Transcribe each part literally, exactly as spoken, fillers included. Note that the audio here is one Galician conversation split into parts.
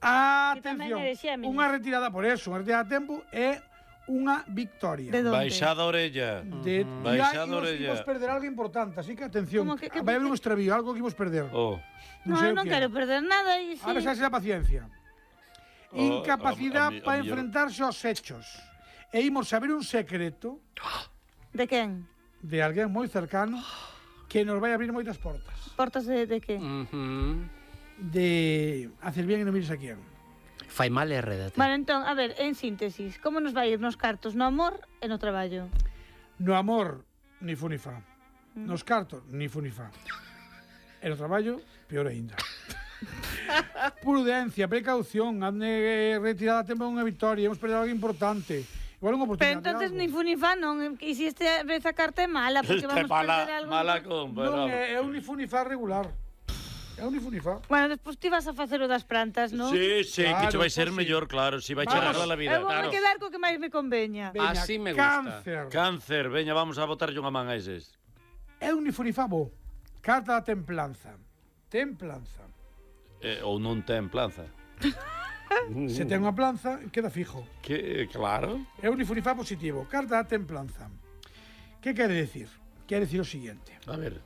Atención, unha retirada por eso, unha retirada a tempo é unha victoria. De donde? Baixada a orella. De uh -huh. Baixada a orella. Imos perder algo importante, así que atención. Que, que, vai haber un extravío, algo que imos perder. Oh. No, no, non quero perder nada. Y sí. A ver, xa será paciencia. Oh, Incapacidade para enfrentarse aos hechos. E imos saber un secreto. De quen? De alguén moi cercano que nos vai abrir moitas portas. Portas de, de que? Uh -huh. De hacer bien e non mires a quen. Fai mal e redate. Vale, entón, a ver, en síntesis, como nos vai ir nos cartos, no amor e no traballo? No amor, ni fu ni fa. Mm. Nos cartos, ni fu ni fa. E no traballo, peor aínda. Prudencia, precaución, ande retirada a tempo unha victoria, hemos perdido algo importante. Igual unha oportunidade. Pero entonces ni fu ni fa, non? E se esta vez a carta é mala, porque vamos a perder algo. Mala compra. Non, é un ni fu ni fa regular. É un ni fu ni fa. Bueno, despois ti vas a facer o das plantas, non? Sí, sí, claro, que che vai ser pues mellor, sí. Claro, si vai che arreglar a vida. Eu vou claro. me quedar co que máis me conveña. Veña, así me gusta. Cáncer. Cáncer, veña, vamos a botarlle unha man a eses. É un ni fu ni fa, bo. Carta da templanza. Templanza. Eh, ou non ten planza. Se ten unha planza, queda fijo. Que, claro. É un ni fu ni fa positivo. Carta da templanza. Que quere decir? Quere decir o siguiente. A ver.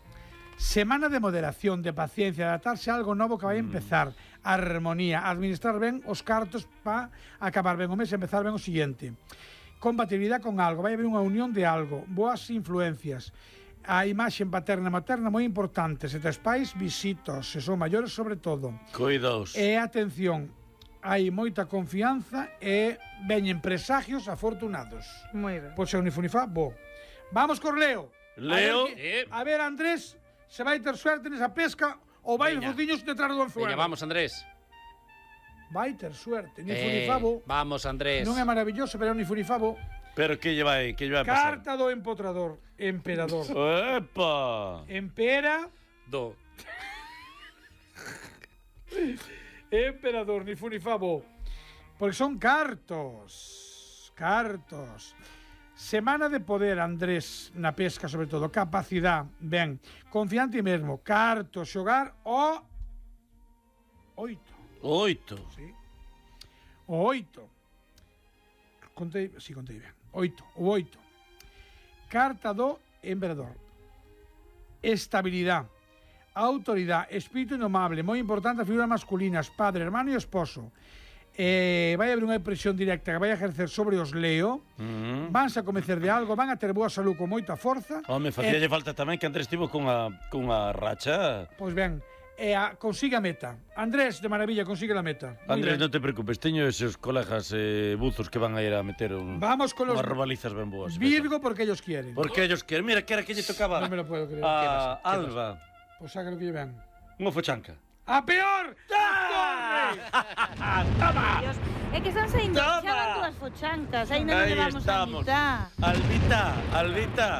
Semana de moderación, de paciencia, de adaptarse a algo novo que vai empezar. Mm. Armonía, administrar ben os cartos para acabar ben o mes e empezar ben o siguiente. Compatibilidade con algo, vai haber unha unión de algo, boas influencias. A imaxe paterna e materna moi importante. Se tes pais, visitos, se son maiores sobre todo. Cuidaos. E atención, hai moita confianza e veñen presagios afortunados. Moi ben. Pois ser un nifunifá, bo. Vamos cor Leo. Leo. A ver, que, a ver Andrés, se vai ter suerte nesa pesca ou vai de fociños detrás do anzuelo. Veña, vamos, Andrés. Vai ter suerte. Ni Eh, funifabo. vamos, Andrés. Non é maravilloso, pero ni funifabo. Pero que lle vai, que lle vai pasar? Carta do empotrador, emperador. Epa! Empera, Do. emperador, ni funifabo. Porque son cartos. Cartos. Semana de poder, Andrés, na pesca sobre todo. Capacidade, ben. Confiante mesmo. Cartos, xogar o... Oito. Oito. Sí. O oito. Contei, si, sí, contei ben. Oito, o oito. Carta do emperador. Estabilidade. Autoridade. Espírito indomable. Moi importante as figuras masculinas. Padre, hermano e esposo. Eh, vai haber unha presión directa que vai a ejercer sobre os Leo. Uh -huh. Vanse a convencer de algo. Van a ter boa salud con moita forza. Home, facíalle eh, falta tamén que Andrés estivo cunha, cunha racha. Pois ben. E a, consiga a meta. Andrés, de maravilla, consigue a meta. Andrés, non te preocupes, teño esos colegas eh, buzos que van a ir a meter un, Vamos con los unhas robalizas ben boas. Virgo porque ellos quieren. Porque ellos quieren. Mira, que era que lle tocaba. Non me lo puedo creer. A Alba. Pois saca lo que llevan. Unha fochanca. A peor! ¡Toma! Dios, é que están saindo, xa van dúas fochancas, ainda non levamos a mitad. Albita, Albita,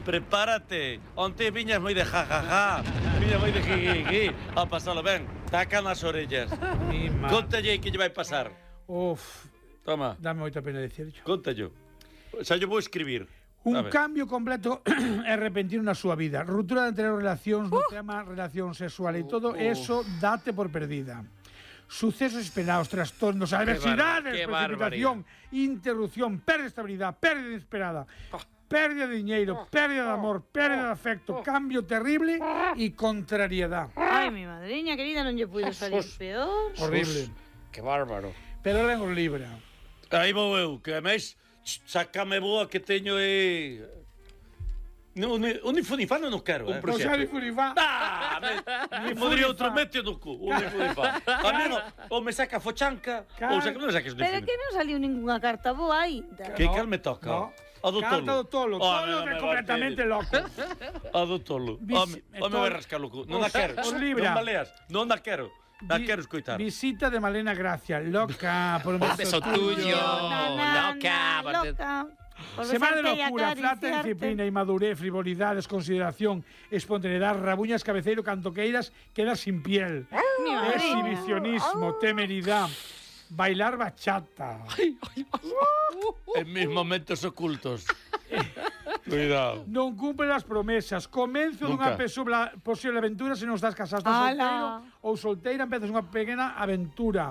prepárate. Onte viñas moi de jajaja, viñas moi de jijiji, a pasalo ben, taca nas orellas. Contalle que lle vai pasar. Uf, toma. Dame moita pena dicirlo. Contallo. Xa yo vou escribir. Un cambio completo e repentino na súa vida. Ruptura de anteriores relacións, no tema relación sexual e todo eso date por perdida. Sucesos esperados, trastornos, adversidades, precipitación, interrupción, pérdida de estabilidade, pérdida inesperada, pérdida de diñeiro, pérdida de amor, pérdida de afecto, cambio terrible e contrariedade. Ai, mi madriña querida, non lle puido salir peor. Horrible. Que bárbaro. Pero len os libra. Aí vou eu, que máis sácame boa que teño e... Un unifunifano non quero, eh? Non xa unifunifá. Ah, me podría outro mete no cu, unifunifá. A mí non, ou me saca fochanca, ou saca, non me saques unifunifá. Pero que non saliu ninguna carta boa ainda. Que cal me toca? A do tolo. Carta do tolo, tolo é completamente loco. A do tolo. Home, me vai rascar o cu. Non a quero. Non maleas, non a quero. La quero escoitar. Visita de Malena Gracia, loca por un beso, beso tuyo. Loca, loca. Semana de locura, flata, disciplina, inmadurez, frivolidades, consideración, espontaneidade, rabuñas, cabeceiro, cantoqueiras, queda sin piel. Exhibicionismo, temeridade, bailar bachata. En mis momentos ocultos. Cuidado. Non cumpre as promesas. Comenzo dunha posible aventura se non estás casado, estás solteiro ou solteira, empezas unha pequena aventura.